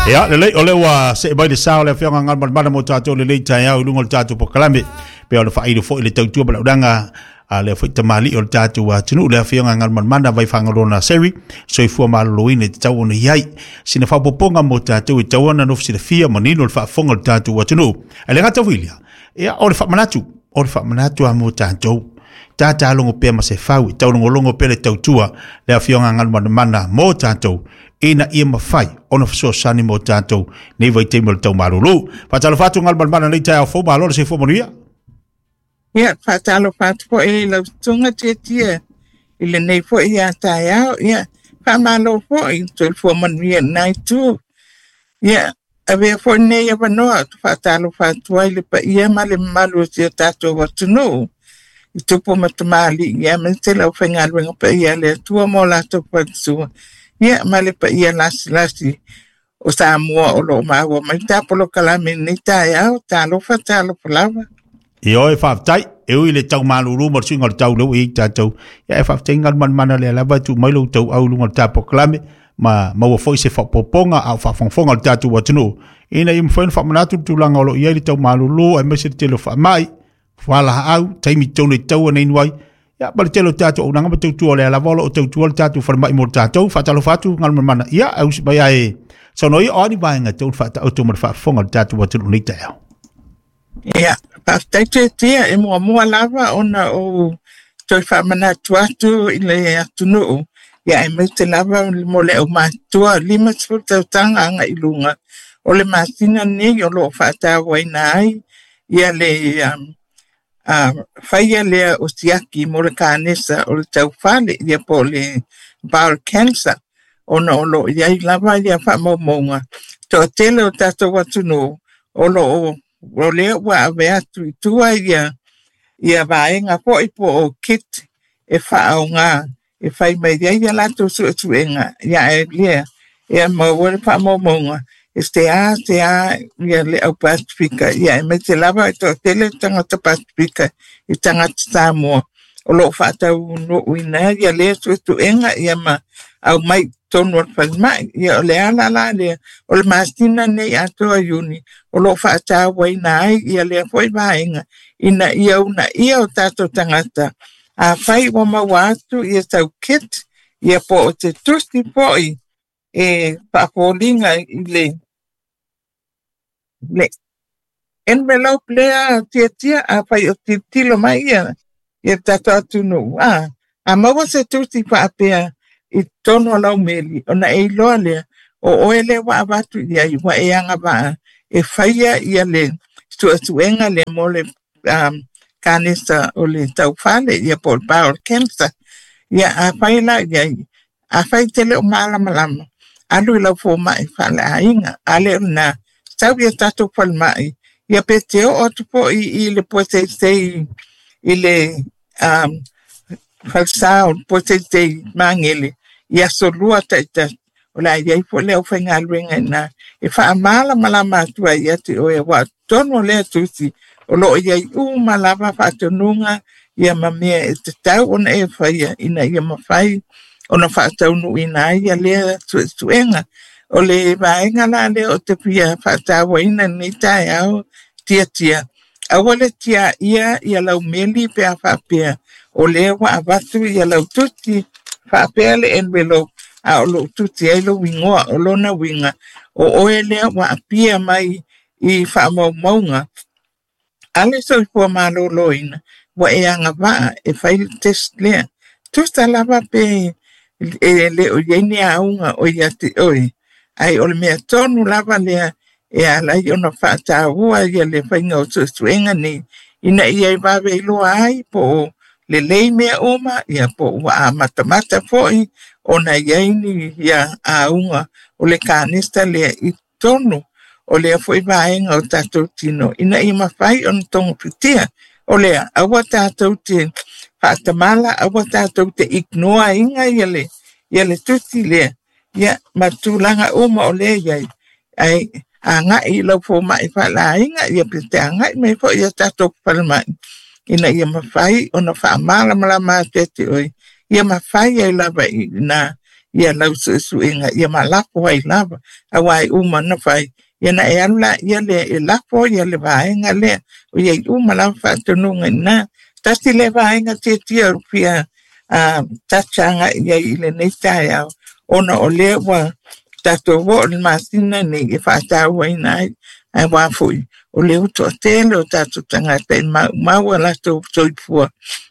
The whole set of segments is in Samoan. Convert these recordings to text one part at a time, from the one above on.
Ia, lelei, o lea ua see mai le sa o le Afioga Galumalemana mo tatou lenei taeao i luga o le tatou polokalame, pei ona faailo foi le tautua ma le auaunaga a lea foi tamalii o le tatou atunuu, le Afioga Galumalemana Vaifagaloa Naseri, soifua maloloina e tatau ona i ai. Sina faaopoopoga mo tatou e tatau ona nofo silafia manino le faafofoga o le tatou atunuu. Ae le gata foi i lea, ia, o le faamanatu, o le faamanatu lava mo tatou. Tata logo pea ma se fau, e taulogologo pea le tautua le Afioga Galumalemana mo tatou, ina ia mafai ona fesoasoani mo tatou nei vaitaimi o le tau malulu. Faatalofa atu Galumalemana nei taeao fou, malo le soifua manuia. Ia, faatalofa atu foi i lau susuga Tietie i lenei foi ia taeao. Ia, faamalo foi, soifua manuia i lena itu. Ia, avea foi lenei avanoa ou te faatalofa atu ai i le paia ma le mamalu o si o tatou atunuu i tupu ma tamalii, ia aemaise le aufaigaluega paia a le Atua ma o latou faletua, ia ma le paia lasilasi o Samoa o lo o maua mai ta polokalame i lenei taeao. Talofa, talofa lava. Ioe, faafetai. E ui i le tau malulu ma le suiga o le tau lea ua i ai tatou, ia e faafetai Galumalemana lea lava e tuu mai lou tauau i luga o le ta polokalame ma maua foi se faaopoopoga a o faafogafoga le tatou atunuu ina ia mafai ona faamanatu le tulaga o lo o i ai le tau malulu aemaise le tele o faamai, fualaau, taimi tonu e tatau ona inu ai, ia ma le tele o tatou auaunaga ma tautua o lea lava o lo o tautua le tatou falemai mo tatou. Faatalofa atu Galumalemana, ia e usi mai ae saunoa ia, o a ni vaega e tatau ona faataoto ma le faafofoga o le tatou atunuu nei taeao? Ia, faafetai Tietie, e muamua lava ona ou toe faamanatu atu i le atunuu, ia aemaise lava mo le aumatutua 50 tausaga agai i luga, o le masina lenei o lo o faatauaina ai ia le faia lea o siaki mo le kanesa o le taufale, ia po o le bowel cancer, ona o lo o i ai lava ia faamaumauga toatele o tatou atunuu o lo o o lea ua ave atu i tua ia ia vaega foi po o kit e faaaoga e fai mai ai ia latou suesuega, ia ae lea e maua le faamaumauga e se a se a ia le au Pasifika, ia aemaise lava e toatele tagata Pasifika i tagata Samoa o lo o faataunuuina ia lea suesuega ia ma aumai i totonu o le falemai. Ia o le ala la lea o le masina nei atoa Iuni o lo o faatauaina ai ia lea foi vaega ina ia uunaia o tatou tagata afai ua maua atu ia sau kit ia po o se tusi foi e faafoliga i le le envelope lea Tietie afai o tilotilo mai ia ia tatou atunuu a maua se tusi faapea i totonu o lau meli ona e iloa lea o oe lea ua avatu i ai ua e agavaa e faia ia le suesuega lea mo le kanesa o le taufale ia po o le bowel cancer. Ia afai la i ai, afai te le o malamalama, alu i lau fomai faaleaiga, a le o lena, sau ia tatou falemai, ia pe te oo atu foi i le Puaseisei i le falesa o le Puaseisei Magele i aso lua taitasi, o le a i ai foi le aufaigaluega i ina e faamalamalama atu ai ia te oe, aua o totonu o lea tusi o lo o i ai uma lava faatonuga ia ma mea e tatau ona e faia ina ia mafai ona faataunuuina ai ia lea suesuega. O le vaega la lea o te fia faatauaina i lenei taeao Tietie, aua le tiaia ia lau meli pe a faapea o lea ua avatu ia lau tusi faapea le envelope a o lou tusi ai lou igoa, o lona uiga o oe lea ua apia mai i faamaumauga a le soifua maloloina ua e agavaa e fai le test lea. Tusa lava pe e le o i ai ni auga o ia te oe, ai o le mea tonu lava lea e ala ai ona faataua ia le faiga o suesuega nei ina ia e vave iloa ai po o lelei mea uma, ia po ua amatamata foi ona i ai ni ia auga o le kanesa lea i totonu o lea foi vaega o tatou tino ina ia mafai ona togafitia. O lea, aua tatou te faatamala, aua tatou te ignore ina ia le, ia le tusi lea, ia ma tulaga uma o lea i ai. Ai agai i lau fomai faaleaiga, ia pe te agai mai foi ia tatou falemai ina ia mafai ona faamalamalama atu ia te oe, ia mafai ai lava i ina ia lau suesuega ia ma lafo ai lava auā e uma ona fai ia na e alu laia lea e lafo ia le vaega lea o iai uma lava faatonuga iina. Tasi lea vaega tiatia o fia tacha agai iai i lenei taeao ona o lea ua tatou oo i le masina nei e faatauaina ai ae uā foi o lea ua toatele o tatou tagata e maumau a latou soifua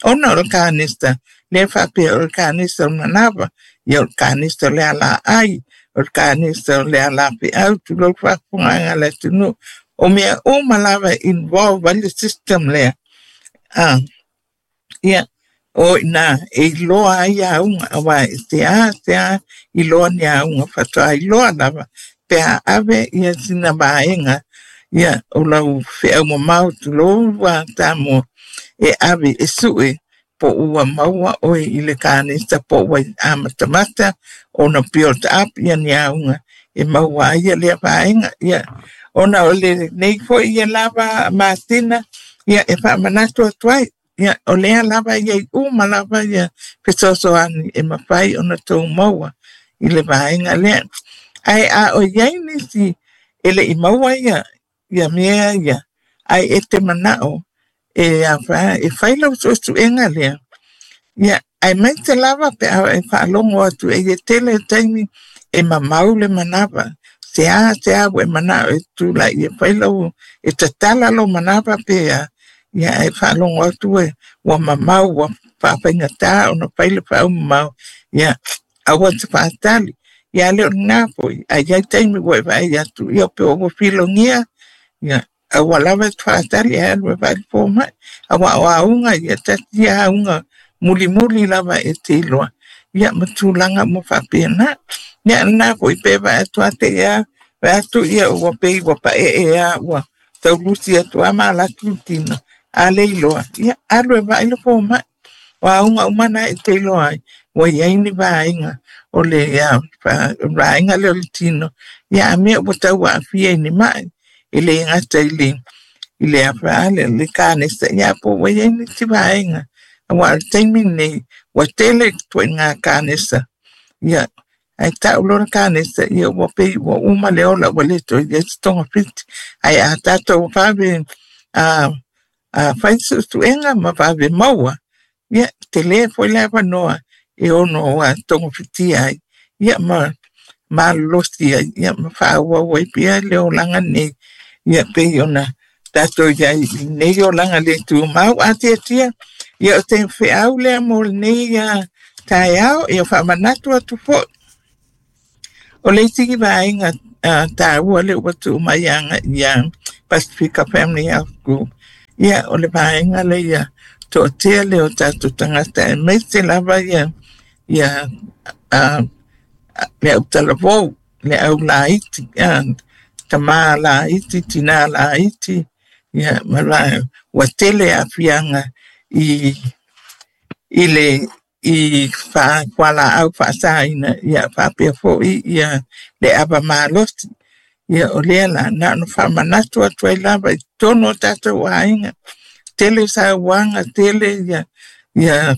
ona o le kanesa lea faapea o le kanesa o le manava ia o le kanesa o le alaai o le kanesa o le alafeau tulou faafofogaaga a le atunuu o mea uma lava e involve ai le system lea ia o iina e iloa ai auga auā e seā seā iloa ni auga faatoa iloa lava pe a ave ia sina vaega ia o lau feau mamao tulou ua Samoa e ave e sue po ua maua oe i le kanesa po ua amatamata ona build up ia ni auga e maua ai ia lea vaega ia ona o lenei foi ia lava masina ia e faamanatu atu ai ia o lea lava ia i uma lava ia fesoasoani e mafai ona tou maua i le vaega lea. Ae a o iai nisi e le i maua ia ia mea ia ae e te manao e afa e fai lau suesuega lea ia aemaise lava pe a e faalogo atu e ia tele taimi e mamau le manava seā seā ua e manao e tulai e fai lau e tatala lou manava pe a ia ae faalogo atu e ua mamau ua faafaigata ona fai le faaumamao ia aua te faatali ia le o lena foi ae iai taimi ua e vaai atu ia pe ua filogia ia aua lava e te faatali ae alu e vaai le fomai auā o auga ia tasi ia auga mulimuli lava e te iloa ia ma tulaga uma faapena. Ia lena foi pe vaai atu a te ia vaai atu ia ua pei ua paee a ua taulusi atu a ma alu atu le tino a le iloa ia alu e vaai le fomai o auga uma na e te iloa ai ua iai ni vaega o le vaega lea o le tino ia a mea ua tau aafia i ni mai e le gata i le i le afa le kanesa ia po ua iai nisi vaega auā o le taimi lenei ua tele ituaiga kanesa ia ae tau loa le kanesa ia ua pei ua uma le ola ua le toe iai se togafiti ae a tatou vave fai suesuega ma vave maua ia tele foi le avanoa e ono togafitia ai ia ma malolosi ai ia ma faaauau ai pea le olaga nei ia pei ona tatou iai i lenei olaga le tumau. A tiatia ia o te feau lea mo lenei taeao ia faamanatu atu foi o le isi vaega taua lea ua tuu mai agai ia Pasifika Family Health Group ia o le vaega lea ia toatea lea o tatou tagata aemaise lava ia ia le autalavou le au laiti tamā laiti tinā laiti ia ma la ua tele aafiaga i i le i fualaau faasaina ia faapea foi ia le ava malosi ia o lea la na ona faamanatu atu ai lava i totonu o tatou aiga tele sauaga tele ia ia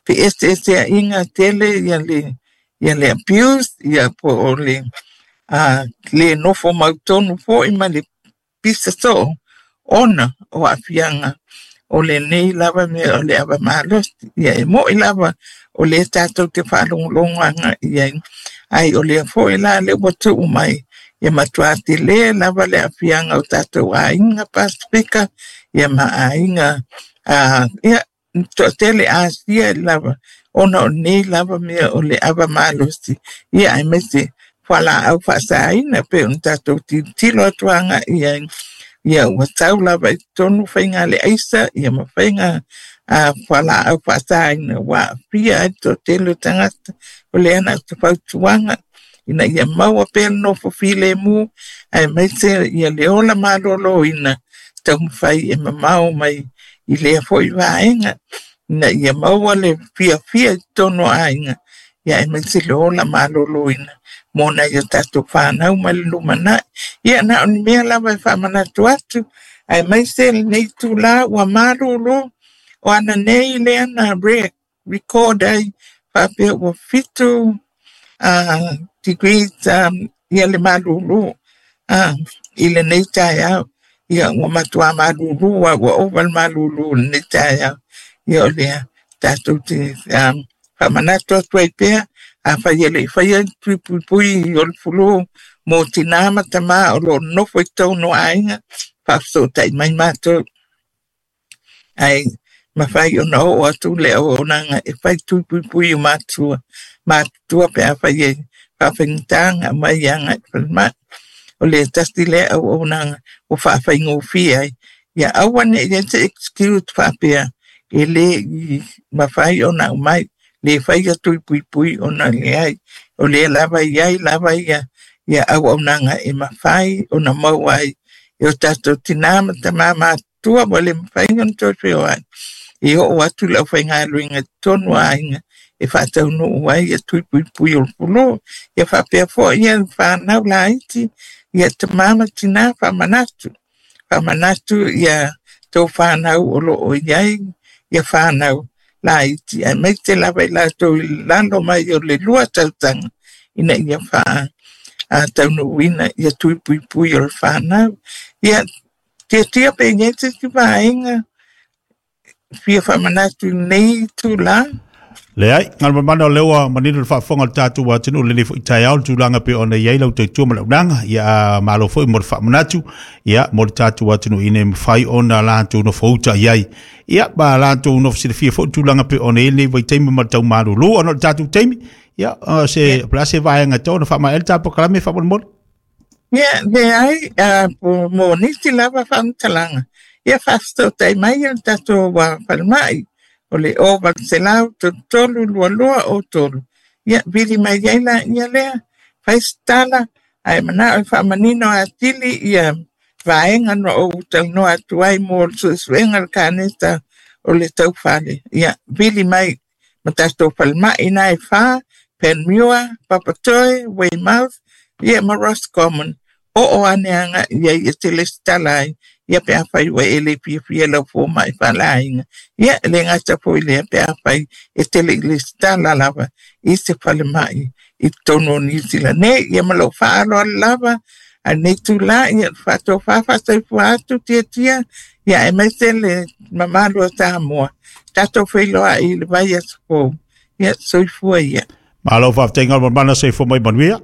feeseeseaiga tele ia le ia le abuse ia po o le le nofo mautonu foi ma le pisa soo ona o aafiaga o lenei lava mea o le ava malosi ia e mo'i lava o lea tatou te faalogologo agai i ai ae o lea foi la le ua tuu mai ia matuā tele lava le aafiaga o tatou aiga Pasifika ia ma aiga ia toatele Asia lava ona o nei lava mea o le ava malosi ia aemaise fualaau faasaina pei ona tatou tilotilo atu agai i ai ia ua tau lava i totonu faiga le aisa ia ma faiga fualaau faasaina ua aafia ai le toatele o tagata. O lea na o se fautuaga ina ia maua pea le nofo filemu aemaise ia le ola malōlōina taumafai e mamao mai i lea foi vaega ina ia maua le fiafia i totonu o aiga ia aemaise le ola malōlōina mo nai o tatou fanau mai le lumanai. Ia na o ni mea lava e faamanatu atu aemaise lenei itulā ua malūlū o ana nei lea na record ai faapea ua 7 Degrees ia le malūlū i lenei taeao. Ia ua matuā malūlū a ua ova le malūlū i lenei taeao. Ia o lea tatou te faamanatu atu ai pea, afai e le i faia ni tui puipui o le flu mo tinā ma tamā o lo o nonofo i totonu o aiga, faafesootai mai matou. Ae mafai ona oo atu le auaunaga e fai tui puipui o matua matutua pe afai e faafaigata ona aumai agai i le falemai. O le tasi lea auaunaga ua faafaigofie ai. Ia aua ne i i ai se excuse faapea e le i mafai ona aumai, le faia tui puipui ona leai. O lea lava e i ai lava ia auaunaga e mafai ona maua ai e o tatou tinā ma tamā matutua ua le mafai ona toe feoai. E oo atu le aufaigaluega i totonu o aiga e faataunuu ai ia tui puipui o le flu. Ia faapea foi ia fanau laiti, ia tamā ma tinā faamanatu. Faamanatu ia tou fanau o lo o i ai ia fanau laiti, aemaise lava i latou i lalo mai o le 2 tausaga ina ia faataunuuina ia tui puipui o le fanau. Ia tiatia pe i ai se isi vaega fia faamanatu i lenei itulā. Leai, Galumalemana, o lea ua manino le faafofoga o le tatou atunuu i lenei foi taeao le tulaga pei ona i ai lau tautua ma le auaunaga. Ia, malo foi mo le faamanatu, ia, mo le tatou atunuu ina ia mafai ona latou nofouta i ai. Ia, ma latou nofo silafia foi le tulaga pei ona i ai lenei vaitaimi ma le tau malūlū ona o le tatou taimi. Ia, se, o le a se vaega e tatau ona faamaea ai le ta polokalame faamolemole? Ia, leai, mo nisi lava faamatalaga, ia faafesootai mai le tatou falemai o le 0800 33 22 03. Ia, vili mai ai laia lea, fai se tala, ae manao e faamanino atili ia vaega na ou talanoa atu ai mo le suesuega o le kanesa o le taufale. Ia, vili mai ma tatou falemai na e 4, Panmure, Papatoe, Weymouth, ia ma Roscommon. Oo ane agai i ai e te lesitala ai, ia pe afai ua e le fiafia lau fomai faaleaiga. Ia, e le gata foi lea pe afai e te le i lesitala lava i se falemai i totonu o Niu Sila nei. Ia ma lou faaaloalo lava, a lenei itulā, ia faatofa faasoifua atu tiatia, ia aemaise le mamalu o Samoa. Tatou feiloai i le vaiaso fou. Ia, soifua ia. Malo faafetai Galumalemana, soifua mai manuia.